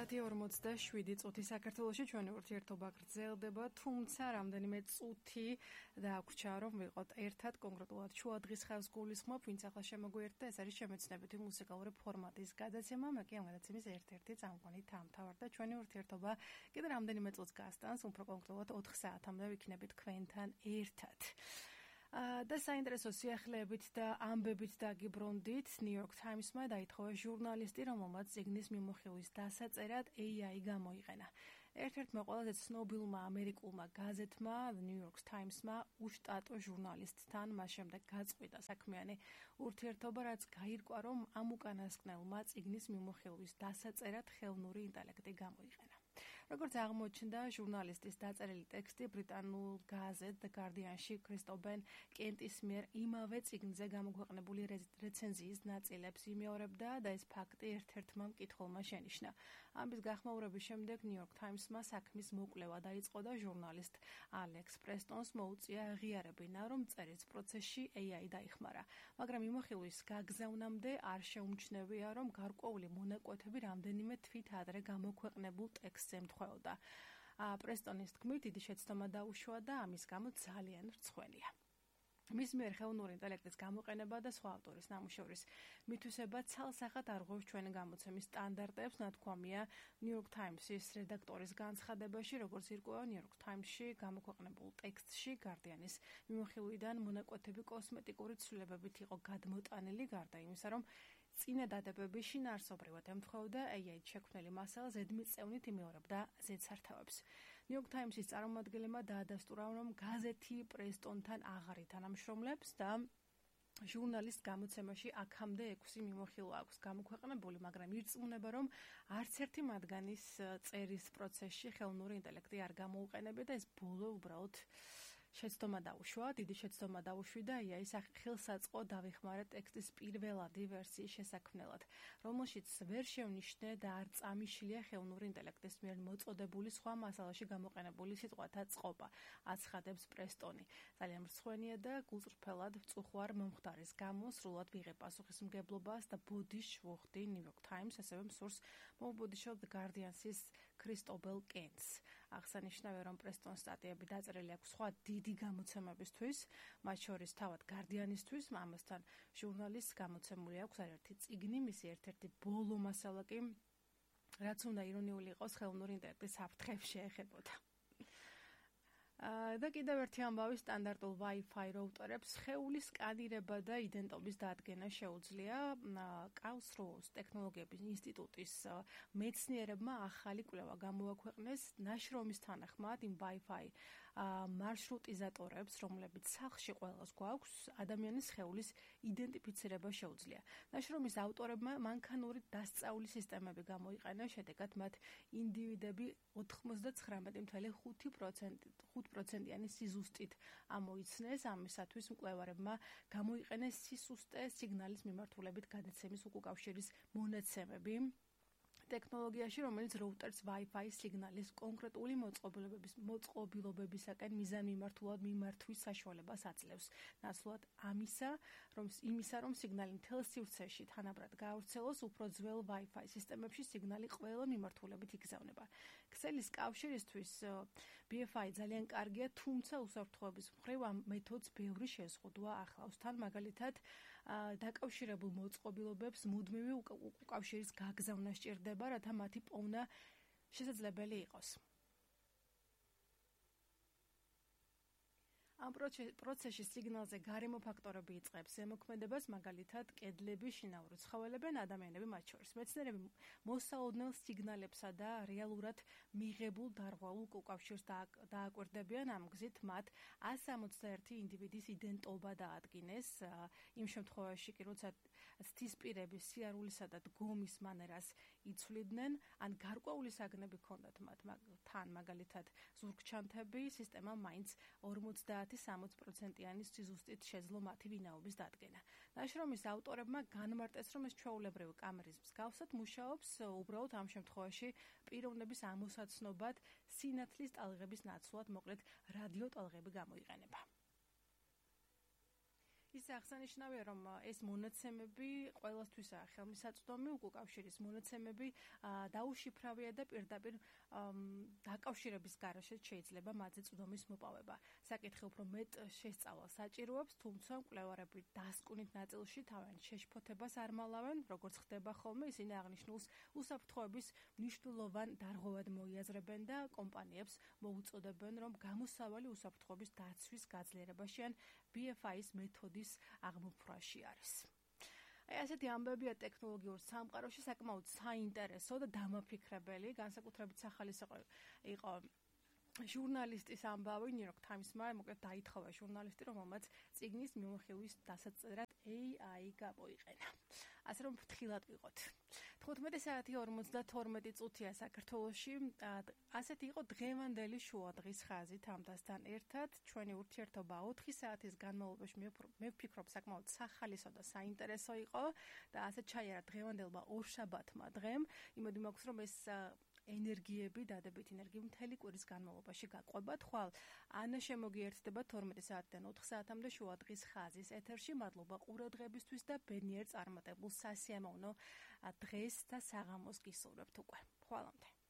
საათი 47 წუთი საქართველოში ჩვენი ურთიერთობა გრძელდება, თუმცა რამდენიმე წუთი დაგვჭირდა რომ ვიყოთ ერთად, კონკრეტულად შუადღის ხაზს გულისხმობ, ვინც ახლა შემოგვიერთდა, ეს არის შემეცნებითი მუსიკალური ფორმატის გადაცემა, მე კი ამ გადაცემის ერთ-ერთი წამყვანი დამთავრდა და ჩვენი ურთიერთობა კიდე რამდენიმე წუთს გასტანს, უფრო კონკრეტულად 4 საათამდე ვიქნებით თქვენთან ერთად. და საინტერესო სიახლეებით და ამბებით დაგიბრუნდით, New York Times-მა დაითხოვა ჟურნალისტი, რომელმაც წიგნის მიმოხილვის დასაწერად AI გამოიყენა. ერთ-ერთმა ყველაზე ცნობილმა ამერიკულმა გაზეთმა, The New York Times-მა უშტატო ჟურნალისტთან მას შემდეგ გაწყვიტა საქმიანი ურთიერთობა, რაც გაირკვა, რომ ამ უკანასკნელმა წიგნის მიმოხილვის დასაწერად ხელოვნური ინტელექტი გამოიყენა. როგორც აღმოჩნდა, ჟურნალისტის დაწერილი ტექსტი ბრიტანულ გაზეთ The Guardian-ში კრისტობენ კენტის მიერ იმავე წიგნზე გამოქვეყნებული რეცენზიის ნაწილებს იმეორებდა და ეს ფაქტი ერთ-ერთმა მკითხველმა შენიშნა. ამის გახმაურების შემდეგ New York Times-მა საქმის მოკვლევა დაიწყო და ჟურნალისტ ალექს პრესტონს მოუწია აღიარებინა, რომ წერის პროცესში AI დაიხმარა, მაგრამ მიმოხილვის გაგზავნამდე არ შეუმჩნევია, რომ გარკვეული მონაკვეთები რამდენიმე თვით ადრე გამოქვეყნებულ ტექსტს ემთხვეოდა. პრესტონის თქმით, დიდი შეცდომა დაუშვა და ამის გამო ძალიან რცხვენია. მის მიერ ხელოვნური ინტელექტის გამოყენება და სხვა ავტორის ნამუშევრის მითვისება ცალსახად არღვევს ჩვენი გამოცემის სტანდარტებს, ნათქვამია New York Times-ის რედაქტორის განცხადებაში, როგორც ირკვევა New York Times-ში გამოქვეყნებულ ტექსტში Guardian-ის მიმოხილვიდან მონაკვეთები კოსმეტიკური ცვლილებებით იყო გადმოტანილი, გარდა იმისა, რომ წინა დადებები შინაარსობრივად ემთხვეოდა AI-ით შექმნილი მასალა ზედმიწევნით იმეორებდა ზედსართავებს. New York Times-ის წარმომადგენლებმა დაადასტურა, რომ გაზეთი პრესტონთან აღარ ითანამშრომლებს და ჟურნალისტ გამოცემაში აქამდე 6 მიმოხილვა აქვს გამოქვეყნებული, მაგრამ ირწმუნება, რომ არც ერთი მათგანის წერის პროცესში ხელოვნური ინტელექტი არ გამოუყენებია და ეს ბოლო უბრალოდ შეცდომა დაუშვა, დიდი შეცდომა დაუშვიდა AI-ის ხელსაწყო დავიხმარე ტექსტის პირველადი ვერსიის შესაქმნელად, რომელშიც ვერ შევნიშნე და არ წამიშლია ხელოვნური ინტელექტის მიერ მოწოდებული სხვა მასალაში გამოყენებული სიტყვათა წყობა, აცხადებს პრესტონი. ძალიან მრცხვენია და გულწრფელად ვწუხვარ მომხდარის გამო, სრულად ვიღებ პასუხისმგებლობას და ბოდიშ ვუხდი New York Times, ასევე მსურს მოვბოდიშო The Guardian-ის კრისტობენ კენტს. აღსანიშნავია, რომ პრესტონის სტატიები დაწერილი აქვს სხვა დიდი გამოცემებისთვის, მათ შორის თავად Guardian-ისთვის, ამასთან ჟურნალისტს გამოცემული აქვს არაერთი წიგნი, მისი ერთ-ერთი ბოლო მასალა კი, რაც უნდა ირონიული იყოს, ხელოვნური ინტელექტის საფრთხეებს შეეხებოდა. და კიდევ ერთი ამბავი სტანდარტულ Wi-Fi რაუტერებს სხეულის სკანირება და იდენტობის დადგენა შეუძლია. Karlsruhe ტექნოლოგიების ინსტიტუტის მეცნიერებმა ახალი კვლევა გამოაქვეყნეს ნაშრომის თანახმად იმ Wi-Fi მარშრუტიზატორებს, რომლებიც სახლში ყველას გვაქვს, ადამიანის სხეულის იდენტიფიცირება შეუძლია. ნაშრომის ავტორებმა მანქანური დასწავლის სისტემები გამოიყენეს, შედეგად მათ ინდივიდები 99.5%-იანი სიზუსტით ამოიცნეს. ამისათვის მკვლევარებმა გამოიყენეს სისუსტე სიგნალის მიმართულებით გადაცემის უკავშირის მონაცემები ტექნოლოგიაში, რომელიც რაუტერს Wi-Fi სიგნალის კონკრეტული მოწყობილობებისაკენ მიზანმიმართულად მიმართვის საშუალებას აძლევს. ნაცვლად იმისა, რომ სიგნალი მთელ სივრცეში თანაბრად გაავრცელოს, უფრო ძველ Wi-Fi სისტემებში სიგნალი ყველა მიმართულებით იგზავნება. ქსელის კავშირისთვის BFI ძალიან კარგია, თუმცა უსაფრთხოების მხრივ ამ მეთოდს ბევრი შეზღუდვა ახლავს. თან მაგალითად, დაკავშირებულ მოწყობილობებს მუდმივი უკავშირის გაგზავნა სჭირდება, რათა მათი პოვნა შესაძლებელი იყოს. ამ პროცესში სიგნალზე გარემო ფაქტორები იწყებს ზემოქმედებას, მაგალითად, კედლები, შინაური ცხოველები, ადამიანები მათ შორის. მეცნიერები მოსაოდნელ სიგნალებსა და რეალურად მიღებულ დარღვეულ უკავშირს დააკვირდებიან, ამ გზით მათ 161 ინდივიდის იდენტობა დაადგინეს. იმ შემთხვევაში კი, როცა ცდისპირების სიარულისა და დგომის მანერას იცვლიდნენ, ან გარკვეული საგნები ჰქონდათ მათ, თან მაგალითად ზურგჩანთები, სისტემა მაინც 50-60%-იანი სიზუსტით შეძლო მათი ვინაობის დადგენა. ნაშრომის ავტორებმა განმარტეს, რომ ეს ჩვეულებრივი კამერის მსგავსად მუშაობს, უბრალოდ ამ შემთხვევაში პიროვნების ამოსაცნობად სინათლის ტალღების ნაცვლად, მოკლედ რადიო ტალღები გამოიყენება. ის აღსანიშნავია, რომ ეს მონაცემები ყველასთვისაა ხელმისაწვდომი, უკავშირის მონაცემები დაუშიფრავია და პირდაპირ დაკავშირების გარეშე შეიძლება მათზე წვდომის მოპოვება. საკითხი უფრო მეტ შესწავლას საჭიროებს, თუმცა მკვლევარები დასკვნით ნაწილში თავიანთ შეშფოთებას არ მალავენ, როგორც ხდება ხოლმე, ისინი აღნიშნულს უსაფრთხოების მნიშვნელოვან დარღვევად მოიაზრებენ და კომპანიებს მოუწოდებენ, რომ გამოსავალი უსაფრთხოების დაცვის გაძლიერებაში ან BFI-ის მეთოდის აღმოფხვაში არის. ასეთი ამბებია ტექნოლოგიურ სამყაროში საკმაოდ საინტერესო და დამაფიქრებელი, განსაკუთრებით სახალისო იყო ჟურნალისტის ამბავი New York Times-მა, მოკლედ დაითხოვა ჟურნალისტი, რომელმაც წიგნის მიმოხილვის დასაწერად AI გამოიყენა. ასე რომ ფრთხილად ვიყოთ. 15 საათი 52 წუთია საქართველოში. ასეთი იყო დღევანდელი შუადღის ხაზი თამდასთან ერთად. ჩვენი ურთიერთობა 4 საათის განმავლობაში მე ვფიქრობ საკმაოდ სახალისო და საინტერესო იყო და ასე ჩაიარა დღევანდელმა ორშაბათმა დღემ. იმედი მაქვს, რომ ეს ენერგიები, დადებით ენერგიები მთელი კვირის განმავლობაში გაყვებათ. ხვალ ანა შემოგიერთდება 12 საათიდან 4 საათამდე შუადღის ხაზის ეთერში. მადლობა ყურადღებისთვის და ბედნიერ წარმატებულ სასიამოვნო დღეს და საღამოს გისურვებთ უკვე. ხვალამდე.